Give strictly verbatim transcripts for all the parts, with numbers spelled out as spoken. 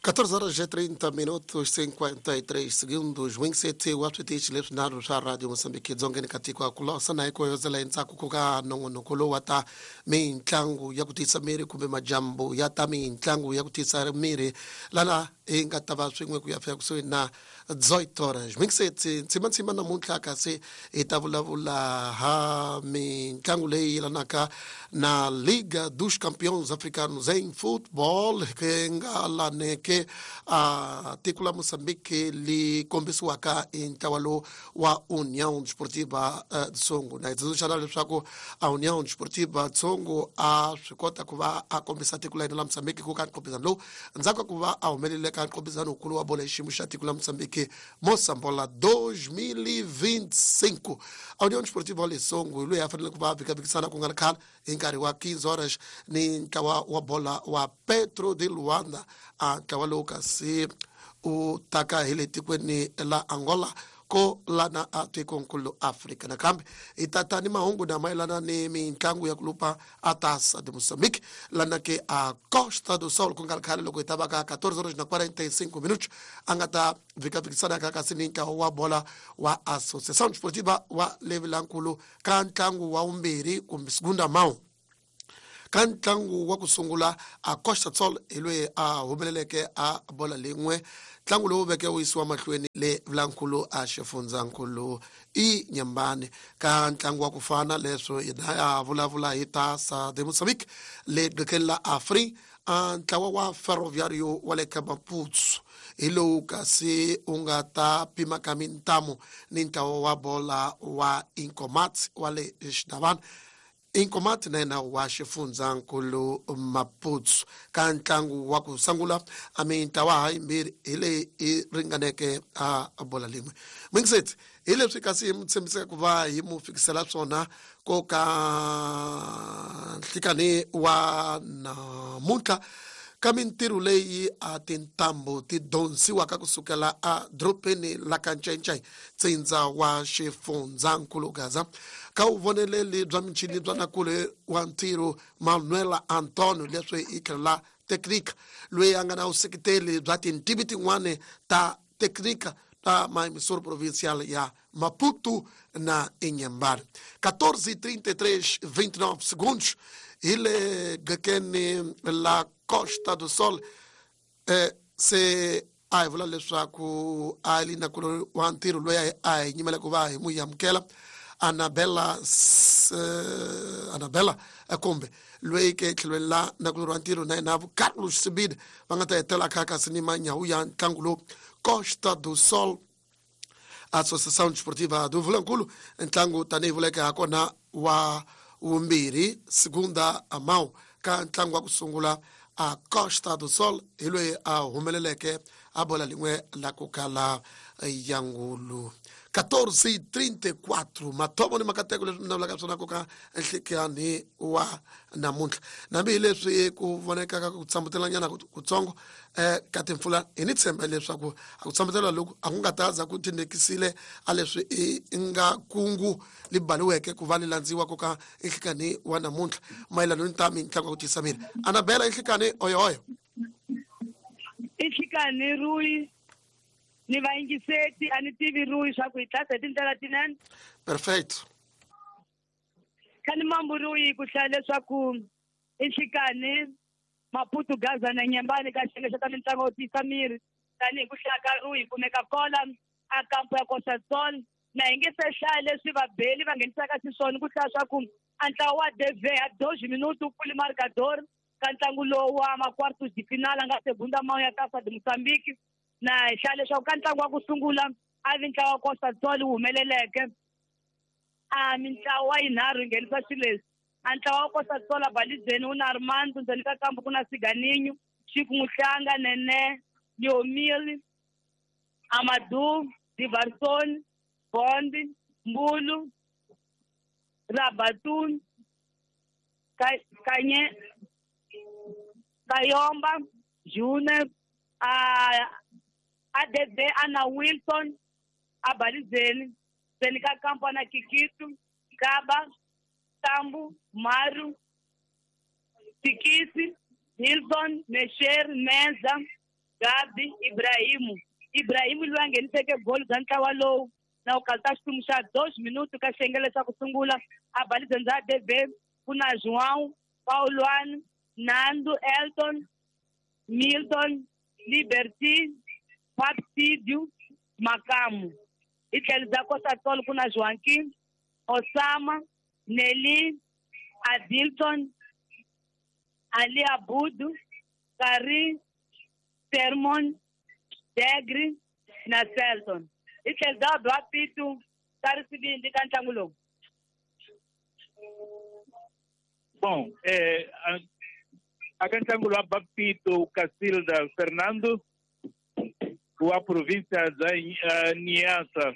catorze horas e trinta minutos cinquenta e três segundos. Wing C T wa switichi leswinharhu swa Radio Mosambiki Dzongeni ka tiko kulosa na ikoyozela endzhaku ku ka nongonoko lowu wa ta mitlangu ya ku tiyisa miri kumbe majambu ya ta mitlangu ya ku tiyisa miri, lana hi nga ta va swin'we ku ya fika kusuhi na dezoito horas. Wing C T ntsimantsima namuntlha kasi hi ta vulavula ha mitlangu leyi yelanaka na Liga dos Campeões Africanos em Futebol, ke nga laneke a tiko la Moçambique li kombisiwaka hi ntlawa lowu wa União Desportiva uh, Tsongo. Na hi tsundzuxana leswaku a União Desportiva Tsongo a swi kota ku va a kombisa tiko la hina la Moçambique ku ka nqopizano lowu ndzhaku ka ku va a humelele ka nqopizano wukulu wa bolo hi xiyimo xa tiko la Moçambique, Moçambola dois mil e vinte e cinco. A União Desportiva wa Lesongo hi loyi a fanele ku va a vhikavikisana ku nga ri khale hi nkarhi wa quinze horas ni ntlawa wa bola wa Petro de Luanda, a ntlawa lowu kasi u taka hi le tikweni la Angola ko lana a tikonkulu Afrika. Nakambe hi tata ni mahungu na mayelana ni mitlangu ya kulupa a Taça de Moçambique, lana ke a Costa do Sol ku nga ri khale loko hi ta va ka catorze horas na quarenta e cinco minutos a nga ta vhikavikisana ka kasi ni ntlawa wa bola wa Associação Desportiva wa Levilankulu ka ntlangu wa vumbirhi kumbe segunda mão. Ka ntlangu wa ku sungula, a Costa Sol hi loyi a humeleleke a bola lin'we, ntlangu lowu veke wu yisiwa mahlweni le Vilankulu a xifundzankulu i Nyambani. Ka ntlangu wa ku fana leswo hina ya vulavula hi Taça de Moçambique le qekeni la Afri, a ntlawa wa Ferroviario wa le ka Maputo hi lowu kasi u nga ta pimaka mintamu ni ntlawa wa bola wa Incomat wa le Xidavana, Inkomati na yena wa xifundzankulu Maputo. Ka ntlangu wa ku sungula a mintlawa ha yimbirhi hi leyi yi ringaneke a bola lin'we. Mingiseti hi leswi kasi hi mu tshembisaka ku va hi mu fikisela swona ko ka nhlikani wa namuntlha ka mintirho leyi a tintambu ti donsiwaka kusukela a dorobeni la ka Ncencei, tsindza wa xifundzankulu Gaza, ka vuvoneleli bya michini bya nakule wa ntirho Manuela Antonio, leswi hi tlhela teknika loyi a nga na vuseketeli bya tintivi tin'wani ta teknika ta ma-emissora provincial ya Maputo na Inhambane. catorze e trinta e três, vinte e nove segundos, hi le gakeni la Costa do Sol. eh, se a hi vula leswaku a li na ku wa ntirho loyi a hi nyimela ku va hi n'wi amukela Anabela, uh, Anabela kumbe loyi ke tlhelweni la nakulorhi wa ntirho na yena Carlos Sibide va nga ta hetela kha kasi ni manyawu ya ntlangu lowu Costa do Sol Associação Desportiva do Vilankulu, ntlangu tanihi vuleke ha kona wa vumbirhi, segunda a mão. Ka ntlangu wa ku sungula, a Costa do Sol hi loyi a humeleleke a bola lin'we la ku kala yangulu. catorze e trinta e quatro, mathomo ni makateko leswi mi vulaka swona ku ka nhlikani wa namuntlha, nambi hi leswi ku vonekaka ku tshambutela kutsongo um ka timpfula, hi ni tshemba leswaku a ku tshambutela loku a ku nga ta za ku tindekisile a leswi i nga kungu li baliweke ku va li landziwa ku ka nhlikani wa namuntlha mayelana ni ta mitlangu ya ku tiyisa miri. Anabela, nhlikani oyoyo. I nhlikani Rui ni vayingiseti. A ni tivi Rui swa ku hi tlasa hi tindlela tinene. Perfeito. Kha ni mambu Rui ku hlaya leswaku i nhlikani Maputo, Gaza na Nyembani ka xiyenge xa ta mitlangu yo tiyisa miri. Tanihi ku hlaya ka Rui kumeka kola a kampo ya Costa Sol na hi nge se hlaya leswi vabeli va nghenisaka xiswona ku hlaya swa ku a ntlawa wa D V a dois minutos pfuli marcador ka ntlangu lowu wa ma-quartos de final a nga segunda mão ya Taça de Moçambique. Na hi hlaya leswaku ka ntlangu wa ku sungula a vi ntlawa wa Costa Sol wu humeleleke a mintlawa yinharhu yi nghenisa xileswi: a ntlawa wa Costa Sol a balizeni wu na Armando, ndzeni ka kambu ku na Siganinho, Chico Muhlanga, Nene, Leomil, Amadou, Divarson, Bond, Mbulu, Rabatun, Kanye, Kayomba, June, a A D D ana Wilson abalizeni, ndzeni ka kampo na Kikitu, Kaba, Tambu, Maru, Tikisi, Hilton, Mesher, Menza, Gabi Ibrahimu. Ibrahimu loyi a ngheniseke goli bya ntlawa lowu na ku kalta xiphemu xa dos minuto ka xiyenge xa ku sungula a balizenza D V ku na João, Pauluan, Nando, Elton, Milton, Liberty, Papsidio, Makamu. Hi tlhelo bya Costa Sol ku na Joaquim, Osama, Nelly, Adilton, Ali Abudu, Kari, Sermon, Degri na Selton. Hi tlhelo bya Bwapitu ka risivindi ka ntlangu lowu. Bom, eh, a ka ntlangu lowa Bapito Casilda Fernando wa província da uh, Niassa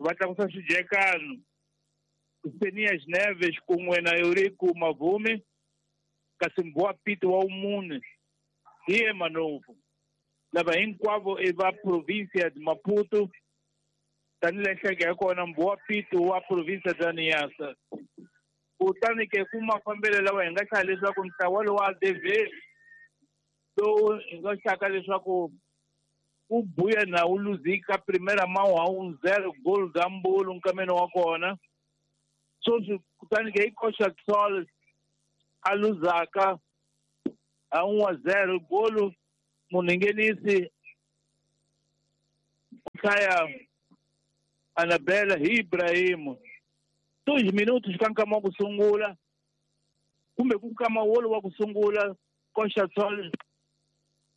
va tlakusa xijekano Senias Neves kun'we na Eurico Mavume kasi Mbwa Pito wa umune hi ye Manovo lava hinkwavo i va província de Maputo tanihi nhleke ya kona Mbwa Pito wa província da Niassa. Kutani ke ku mafambelo lawa hi nga hlaya leswaku ntlawa lowu wa D V lowu hi nga hlaka leswaku u buya na wu luzika primeira mão a um zero gol da Mbulu nkameni wa kona sweswi kutani ke i Costa Sol a luzaka a um a zero golo munhu nghenisi hlaya Anabela hi Ibrahimu dois minutos ka nkama wa ku sungula kumbe ku nkama wolowo wa ku sungula Costa Sol